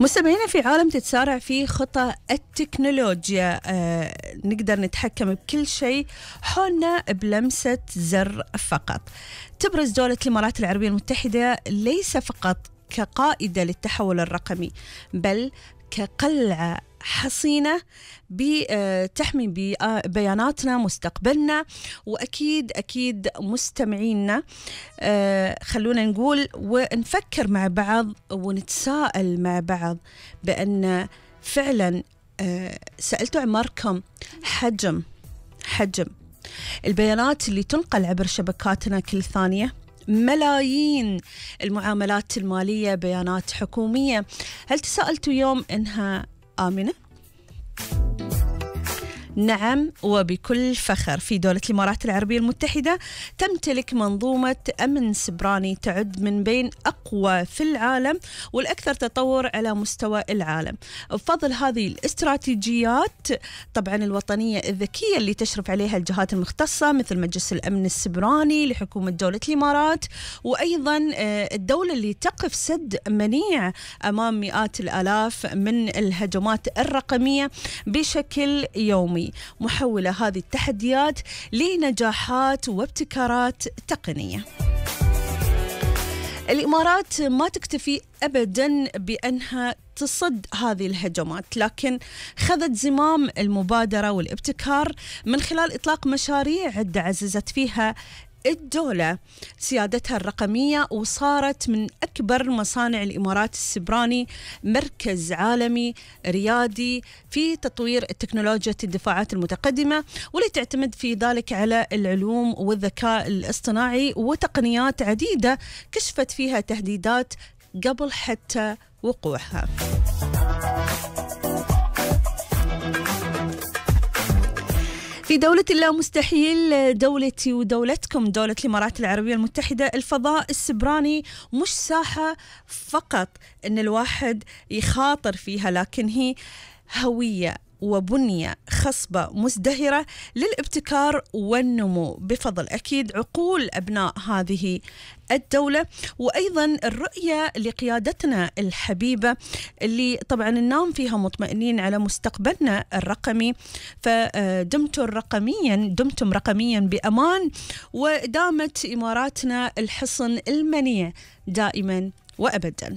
مستمعينا، في عالم تتسارع فيه خطى التكنولوجيا نقدر نتحكم بكل شيء حولنا بلمسة زر فقط. تبرز دولة الإمارات العربية المتحدة ليس فقط كقائدة للتحول الرقمي، بل كقلعة حصينة بتحمي بياناتنا، مستقبلنا، وأكيد مستمعينا. خلونا نقول ونفكر مع بعض ونتساءل مع بعض بأن فعلا سألتوا عمركم حجم البيانات اللي تنقل عبر شبكاتنا كل ثانية؟ ملايين المعاملات المالية بيانات حكومية. هل تساءلتوا يوم إنها آمنة؟ نعم، وبكل فخر في دولة الإمارات العربية المتحدة تمتلك منظومة أمن سبراني تعد من بين أقوى في العالم والأكثر تطور على مستوى العالم، بفضل هذه الاستراتيجيات طبعا الوطنية الذكية اللي تشرف عليها الجهات المختصة مثل مجلس الأمن السبراني لحكومة دولة الإمارات، وأيضا الدولة اللي تقف سد منيع أمام مئات الآلاف من الهجمات الرقمية بشكل يومي، محولة هذه التحديات لنجاحات وابتكارات تقنية. الإمارات ما تكتفي أبداً بأنها تصد هذه الهجمات، لكن خذت زمام المبادرة والابتكار من خلال إطلاق مشاريع عدة عززت فيها الدولة سيادتها الرقمية، وصارت من أكبر مصانع الإمارات السبراني مركز عالمي ريادي في تطوير التكنولوجيا الدفاعات المتقدمة، واللي تعتمد في ذلك على العلوم والذكاء الاصطناعي وتقنيات عديدة كشفت فيها تهديدات قبل حتى وقوعها. في دولة الله مستحيل، دولتي ودولتكم دولة الإمارات العربية المتحدة، الفضاء السبراني مش ساحة فقط إن الواحد يخاطر فيها، لكن هي هوية وبنية خصبة مزدهرة للابتكار والنمو بفضل أكيد عقول أبناء هذه الدولة، وأيضا الرؤية لقيادتنا الحبيبة اللي طبعا ننام فيها مطمئنين على مستقبلنا الرقمي. فدمتم رقميا بأمان، ودامت إماراتنا الحصن المنيع دائما وأبدا.